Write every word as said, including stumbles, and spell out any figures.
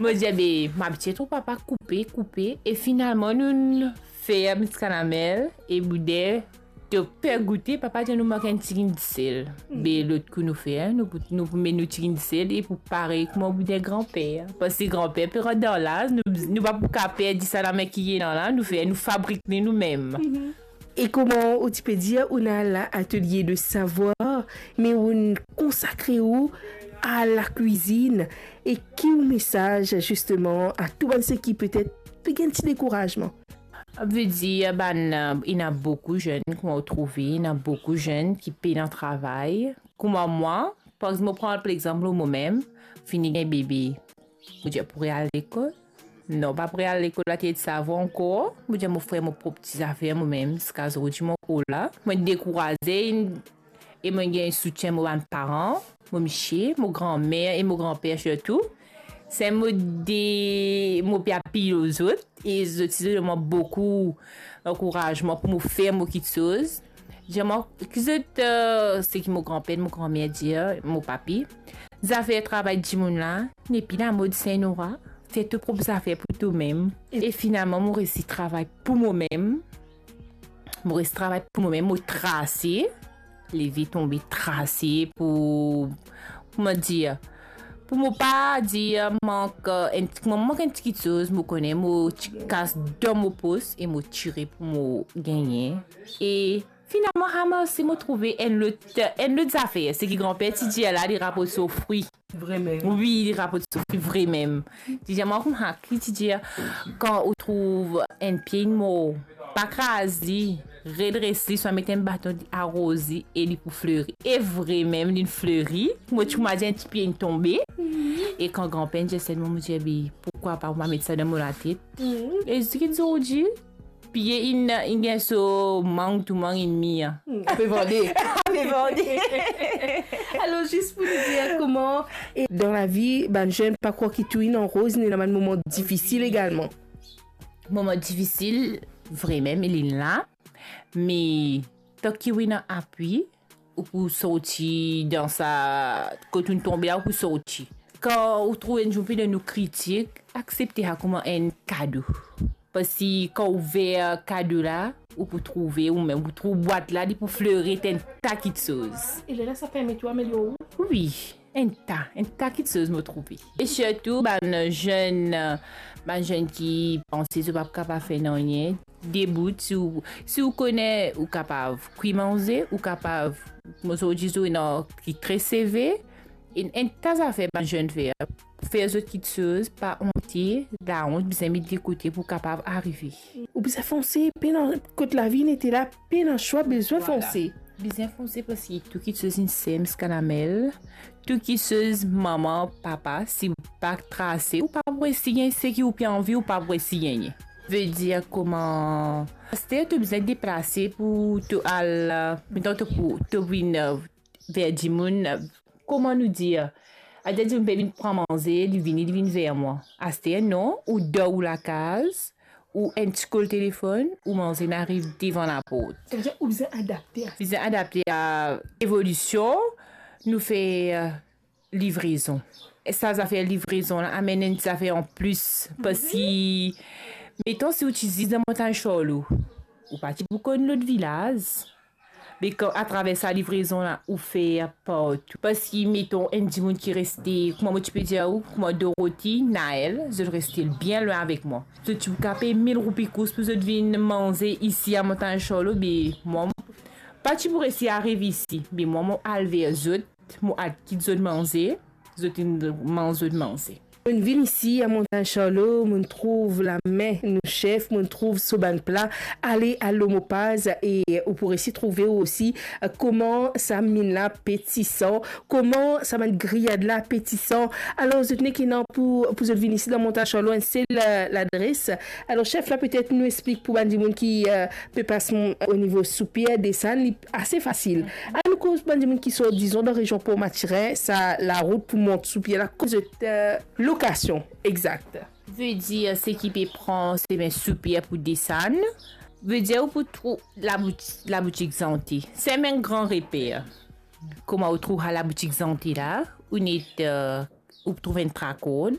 Mo dir, be, mo abitie trouv papa koupe, koupe, e finalman, nou fer miskalamel e bouden. To pe goute, papa dir nou mank enn tigit disel. Be, lot kou nou fer, nou pou, nou pou met nou tigit disel e pou parey kouma bouden granper. Parski granper pe rant dan laz, nou, nou pa pou kapav perdi sa lame ki ena la, nou fer, nou fabrik li noumem. E kouma ou ti pe dir, ou ena latelie de savwar, me ou konsakre ou a lakwizinn, e ki ou mesaz, zisteman, a tou bann seki petet pe gagn ti dekourazman? Vedir, bann, euh, ena boukou zenn, kouma ou trouve, ena boukou zenn ki pena travay. Kouma mwa, par exanp, mo pran par exanp momem, fini gagn bebe. Mo dir, pou al lekol? Non, pa pou al lekol, la ti ete savwar ankor. Mo dir, mo fer mo prop ti zafer momem, ziska zordi mo ankor la. Mo dekouraze, e mo gagn soutien mo bann paran, mo misie, mo granmer e mo granper sirtou. Se mo de, mo pe apiy lor zot, e zot ti donn mwa boukou ankourazman pou mo fer mo kiksoz. Dir mwa, ki zot, euh, seki mo granper, mo granmer dir, mo papi, zafer travay dimoun la, nepi lamod Saint-Nora, fer to prop zafer pou tomem. E finalman, mo resi travay pou momem. Mo resi travay pou momem, mo trase, leve tonbe trase pou, kouma dir, pou mo pa dir mank, euh, enn, mo mank enn ti kiksoz, mo kone, mo ti kas dan mo pos e mo tire pou mo gagne. E finalman, ramarse, mo trouve enn lot, enn lot zafer. Seki granper ti dir la, li raport so fri. Vremem. Wi, li raport so fri vremem. Ti dir mwa kouma ki ti dir, kan ou trouv enn pie inn mor, pa kraz li, redres li, swa met enn baton, aroz li e li pou fleri. E vremem, linn fleri. Mo ti kouma dir enn ti pie inn tonbe. E kan granper inn dir selman, mo dir, be, poukwa pa, mo pa met sa dan mo latet. E ziska zordi, pie inn, inn gagn so mang, tou mang inn mir. Hmm, ape vande. Ape vande. Alor, zis pou nou dir kouma, e dan lavi, bann zenn pa krwar ki tou inn an roz, ena bann moman difisil egalman. Moman difisil, vremem, li la. Me tanki ou ena apwi, ou pou sorti dan sa, kot ou tonbe la, ou pou sorti. Kan ou trouv enn dimoun pe donn ou kritik, aksepte sa kouma enn kado. Parski kan ou ouver kado la, ou pou trouve oumem, ou pou trouv bwat la, li pou fleri enn ta kiksoz. E lerla sa permet ou amelior ou? Wi, enn ta, enn ta kiksoz mo trouve. E sirtou bann zenn, bann zenn ki panse zot pa kapav fer nanye, debout, si ou, si ou kone ou kapav kwi manze, ou kapav, mo zordi zot ena ki tres seve, enn, enn ta zafer bann zenn fer. Fer zot kiksoz, pa onte, laont bizin met de kote pou kapav arive. Ou bizin fonse, pena, kot lavi inn ete la, pena swa, bizin fonse. Bizin fonse parski tou kiksoz inn ser ziska lamel. Tou kiksoz, mama, papa, si ou pa trase, ou pa pou resi gagn seki ou pe anvi, ou pa pou resi gagne. Vedir kouma, aster to bizin deplase pou to al, metan to pou, to vinn, euh, ver dimoun, euh, kouma nou dir, aster dimoun pe vinn pran manze, li vini, li vinn ver mwa. Aster non, ou dan ou lakaz, ou enn ti kol telefonn, ou manze inn ariv devan laport. Savedir ou bizin adapte a... Bizin adapte a evolision, nou fer, euh, livrezon. E sa zafer livrezon la amenn enn zafer anplis, parski, metan, si ou ti zis dan Montagn Charlot, ou pa ti pou konn lot vilaz. Me kan, atraver sa livrezon la, ou fer partou. Parski, metan, enn dimoun ki reste, kouma mo ti pe dir ou, kouma Dorothy, Naël, zot reste bien lwin avek mwa. Zot ti pou kape mil roupi kous pou zot vinn manze isi a Montagn Charlot, be mwa, pa ti pou resi ariv isi. Be mwa, mo al ver zot, mo al kit zot manze, zot inn manz zot manze. Mo'nn vinn isi a Montagn Charlot, mo'nn trouv lame nou sef, mo'nn trouv so bann pla, ale, al lor mo paz e ou pou resi trouve ou osi, eh, kouma sa minn la pe tisan, kouma sa bann griyad la pe tisan. Alor, zot nek ena pou, pou zot vinn isi dan Montagn Charlot, enn sel, eh, ladres. Alor, sef la, petet nou explik pou bann dimoun ki, eh, pe pas, mm, o nivo Soupier, desann, li ase fasil. Annou koz bann dimoun ki sort, dizon, dan rezion Port Mathurin, sa larout pou mont Soupier la, koz zot, eh, lokasion exak. Vedir, seki pe pran semin Soupier pou desann, vedir ou pou trouv labouti-, laboutik Zante. Semin Gran Reper. Kouma ou trouv laboutik Zante la, ou net, eh, ou trouv enn trakord,